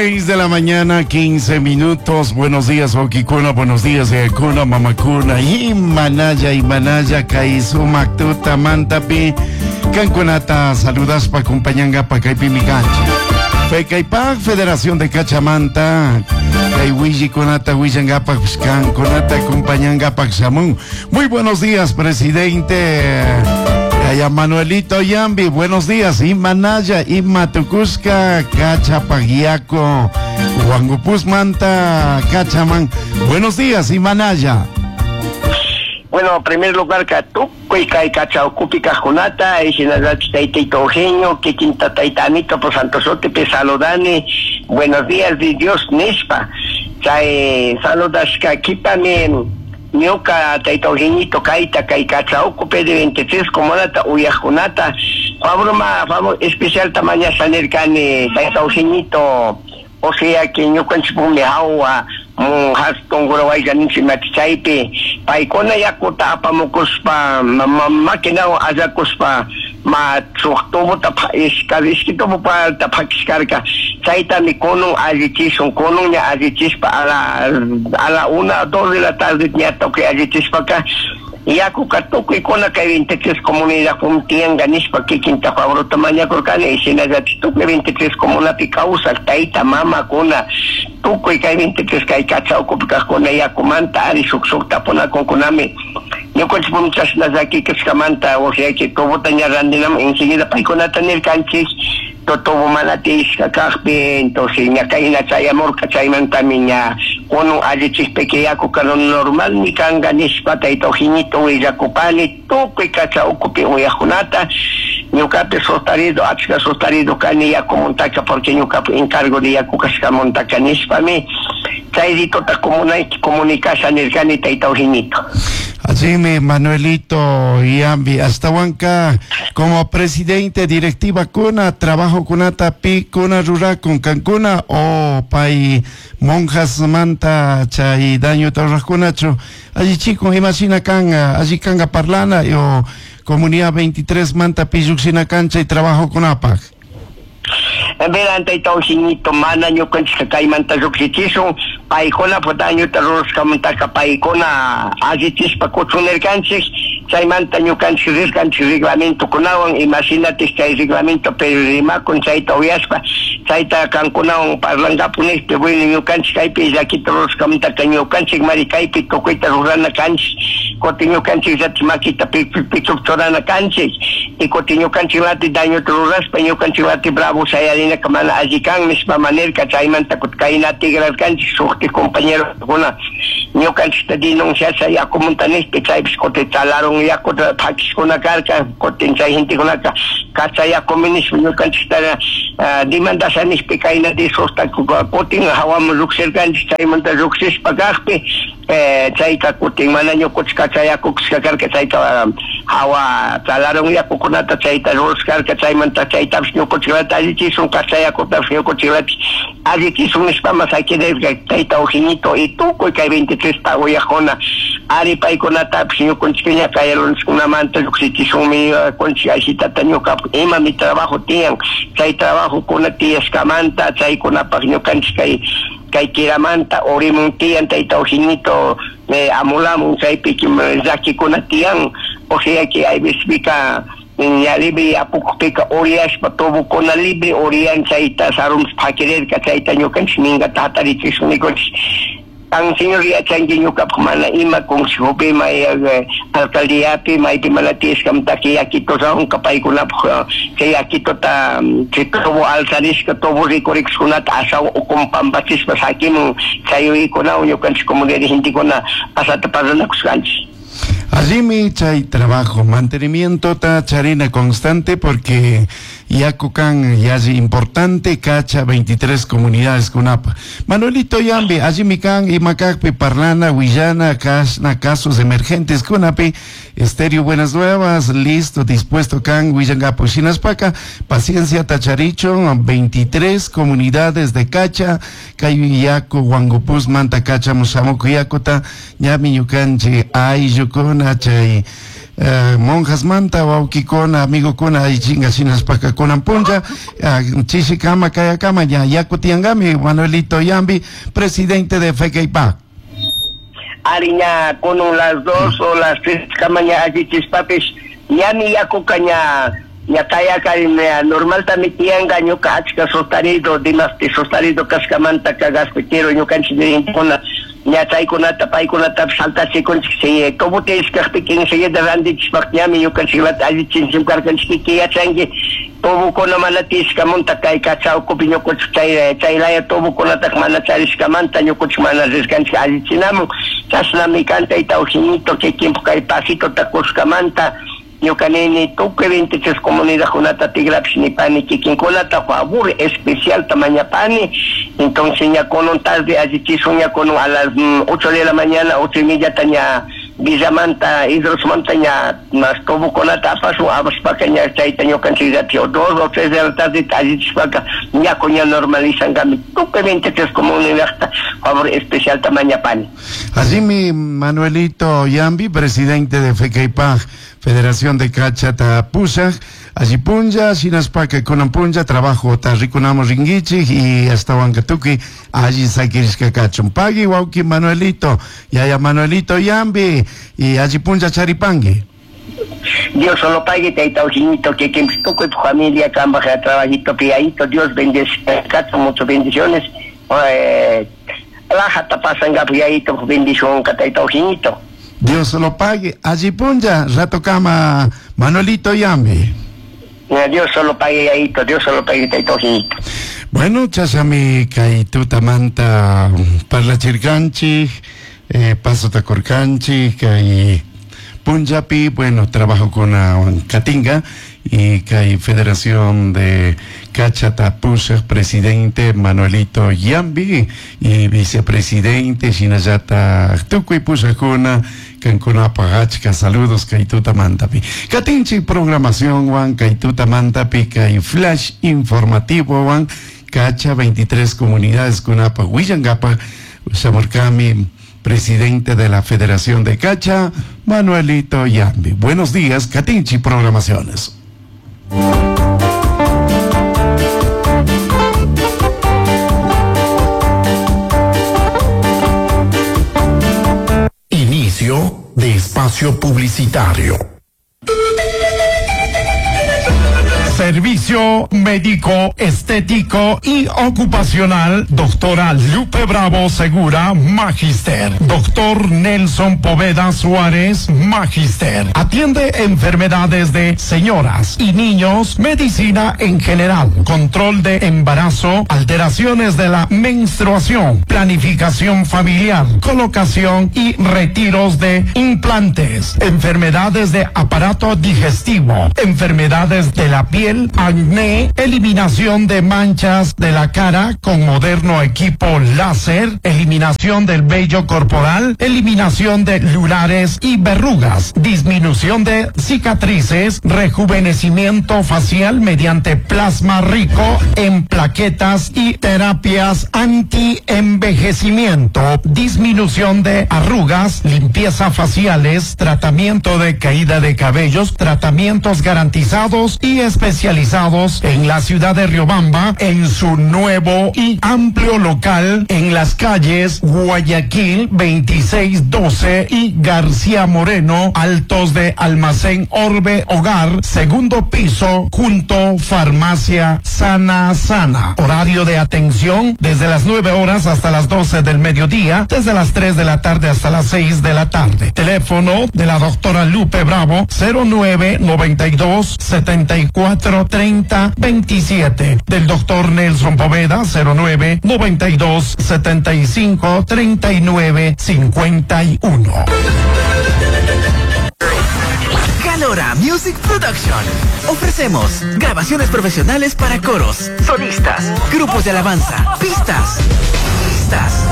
6 de la mañana, 15 minutos. Buenos días, Okikuna. Buenos días, Ekuna, Mamakuna. Imanaya, Imanaya, Kaisumak, Tuta, Mantapi. Kankunata saludaspa, acompañangapa, kaypimi kanchik. Fekaypak, Federación de Cachamanta. Kay willikunata willangapak, kankunata acompañangapak shamun. Muy buenos días, presidente. Yaya Manuelito Yambi, buenos días. Imanaya, Imatucushka, Cachapagiaco, Huangupus Manta, Cachaman. Buenos días, Imanaya. Bueno, en primer lugar, ka tukuy kay Cachaucupi kaqkunata, shinallatik taytayta Eugenio, kikinta tayta Anito por Santo Sotepe saludani. Buenos días, de Dios nishpa. Chay saludashka kipami ñuka tayta Eugenito kayta kay Cachaucupi de 23 comunata uyaqkunata, Pablo ma, especial tamaña nirkani tayta Eugenito, o sea que ñukanchikpumi hawa hatun gurawayka ninchik chaypi paykuna yakuta apamukuspa maquinawan allakuspa ma shuk tubota ishki tubopata phakishkarka, chaytami kunun allichishun, kunun ña allichispa a la 1, 2 de la tarde ña tukuy allichishpaka yakuka tukuykuna kay 23 comunidad tiyanka nishpa kikinta Pablo mañakurkani. Y shinallatik tukuy 23 comunapi kawsak tayta mamakuna, tukuy kay 23 kay Cacha ukupi kaqkuna yakumanta ari shuk shuk tapunakunkunami. Ñukanchik chashna llaki kashkamanta, o sea que tubota ña randinaman enseguida paykunata nirkanchik, tubo mana tiyashka kaqpi. Entonces ña kayna chayamurka, chaymantami ña kunun allichikpika yakuka normalmi kanka nishpa tayta Eugenito willakupani tukuy Cacha ukupi uyaqkunata. Ñukapi sostarido, achka sostarido kani yakumantaka, porque ñukapi encargo de yaku kashkamantaka nishpami chay ritota comunicasha nirkani, tayta Eugenito. Así mi Manuelito Yambi, hasta como presidente directiva kuna, trabajo kunata pi kuna rurakun kankuna o pay monjas manta chay daño tarrakunachu allí chico imagina kanga allí kanga parlana o comunidad 23 manta pilluxina cancha y trabajo kunapak. Verán, tayta Eugenito, mana ñukanchik kaymanta llukshichishun, paykuna dañuta rurashkamantaka paykuna allichishpa kuchunirkanchik. Chaymanta ñukanchik rirkanchik reglamentokunawan, imashinatik chay reglamento pero rimakun, chayta uyashpa chayta kankunawan parlankapu nishpa. Bueno, ñukanchik kaypi llakita rurashkamantaka ñukanchik mari kaypi tukuyta rurana kanchik, kutin ñukanchik llatik makita pichuk churana kanchik, y kutin ñukanchik lati dañuta rurashpa ñukanchik lati bravo shayarinaka mana alli kan nishpa manirka. Chaymanta kutin kayna tigrarkanchik, shuktik compañerokuna ñukanchikta denunciasha yakumunta nishpa. Chaypish kutin chalaron yakuta phakishkuna karka, kutin chay gentekunaka kacha yakumi nishpa ñukanchikta demandasha nishpa kayna disusta kutin hawaman llukshirkanchik. Chaymanta llukshishpa kakpi chayka kutin mana ñukunchik kacha yakukushka karka, chayka hawa chalaron yakukunata chayta rurashkarka. Chaymanta chaytapish ñukunchiklata allichishun, kacha yakutapish ñukunchiklata allichishun nishpama sakirirka, tayta Eugenito. Y tukuy kay 23 ta uyaqkuna ari paykunatapish ñukunchikña kay runaskunamanta llukshichishunmi kunchik ashitata. Ñuka imami trabajo tiyan, chay trabajokuna tiyashkamanta chaykunapaq ñukanchik kay kiramanta urimun tiyan, tayta Eugenito, amulamun chaypi llakikuna tiyan. O sea que hay veces ña libre apukpika uriyashpa tubukuna libre uriyan, chayta sarun phakirirka. Chayta ñukanchik minkata hatarichishun nikunchik. Kan señor yachanki ñukapak mana ima consejopi, may alcaldiapi maypi mana tiyashkamantaka yakito rawnka paykunapuk chay yakitota, chay tubo alzarishka tubo rikurikushkunata ashawan ukun pampachishpa sakimun. Chay yuyaykunawan ñukanchik comunidad gentekuna asata parlanakushkanchik. Allimi chay trabajo, mantenimiento ta charina constante, porque yakukan yalli importante Cacha 23 comunidades kunapa. Manuelito Yambi, allimi kan imakakpi parlana, willana, kasna casos emergentes kunapi, Estéreo Buenas Nuevas, listo, dispuesto kan willangapu shinaspaka, paciencia tacharicho, 23 comunidades de Cacha, kay yaku Huangupus manta Cacha musamuku yakuta, ñami ñukanchi ayllu chay Monjas manta wawkikuna amigokuna allichinga shinaspaka kunan puncha chishikama kayakama ya yaku tiyankami. Manuelito Yambi, presidente de FECAIPAC. Ari, ña kunan las 2 o las 3 kama ña allichishpapish ñami yakuka ña ña kayaka normaltami tiyanka. Ñuka achka sostenido, dimasti sostenido kashkamanta gaspitero ñukanchik dirigentecuna ña chaykunata paykunatapish saltachikunchik. Si tubo tiyashkakpika enseguida randichishpak ñami ñukanchiklata allichinchik karkanchik. Kikin yachanki, tubokuna mana tiyashkamanta kay Cacha ukupi ñukanchik chay chaylaya tubokunataka mana charishkamanta ñukanchik mana rirkanchik allichinamun. Chashnami kan, tayta Eugenito. Kikinpuk kay pasitota kushkamanta ñuka nini tukuy 23 comunidadkunata tigrapish nipani, kikinkunata favor especialta mañapani. Entonces ña kunan tarde allichishun, ña kunan a las 8 de la mañana, 8:30 ta ña Villamanta, Hidrosmanta ña mas tubokunata apashun. Apashpaka ña chayta ñukanchik 2 o 3 de la tarde allichishpaka yaku ña normalizankami. Tukuy 23 comunidadta favor especialta mañapani. Así mi Manuelito Yambi, presidente de FECAIPAG, Federación de Cacha Pusaj, allí punlla, shinaspaka kunan punlla, trabajo ta rikunamos ringuichi y hasta Huancatuki, allí sakirishka kachun. Pagui wawki Manuelito, yaya Manuelito Yambi, y allí punlla charipangui. Dios solo pague, tayta Eugenito, que tukuy tu familia, kambaj trabajito piaito, Dios bendice, muchas bendiciones. Lajata pasanga piaito, bendición, tayta Eugenito. Dios lo pague. Allí punlla, rato kama Manuelito Yambi. Dios solo pague, yayito, Dios solo pague, tayta Eugenito. Bueno, chashami kay tutamanta parlachirkanchik, paso takurkanchik, kay punllapi, bueno, trabajo con Katinga y kay Federación de Cacha Pusaj, presidente Manuelito Yambi y vicepresidente shinallata tukuy pushajkuna kankunapaj achka saludos kay tutamantapi. Katinchik programación wan kay tutamantapi kay flash informativo wan Cacha 23 comunidades kunapaj willankapaj shamurkami presidente de la Federación de Cacha, Manuelito Yambi. Buenos días, Katinchi Programaciones. Inicio de espacio publicitario. Servicio médico, estético y ocupacional, doctora Lupe Bravo Segura, Magister. Doctor Nelson Poveda Suárez, Magister. Atiende enfermedades de señoras y niños, medicina en general, control de embarazo, alteraciones de la menstruación, planificación familiar, colocación y retiros de implantes, enfermedades de aparato digestivo, enfermedades de la piel, acné, eliminación de manchas de la cara con moderno equipo láser, eliminación del vello corporal, eliminación de lunares y verrugas, disminución de cicatrices, rejuvenecimiento facial mediante plasma rico en plaquetas y terapias anti-envejecimiento, disminución de arrugas, limpieza faciales, tratamiento de caída de cabellos, tratamientos garantizados y especializados en la ciudad de Riobamba, en su nuevo y amplio local en las calles Guayaquil 2612 y García Moreno, altos de Almacén Orbe Hogar, segundo piso, junto Farmacia Sana Sana. Horario de atención desde las 9 horas hasta las 12 del mediodía, desde las 3 de la tarde hasta las 6 de la tarde. Teléfono de la doctora Lupe Bravo, 09 92 74 30 27. Del doctor Nelson Poveda, 09 92 75 39 51. Calora Music Production. Ofrecemos grabaciones profesionales para coros, solistas, grupos de alabanza, pistas, pistas.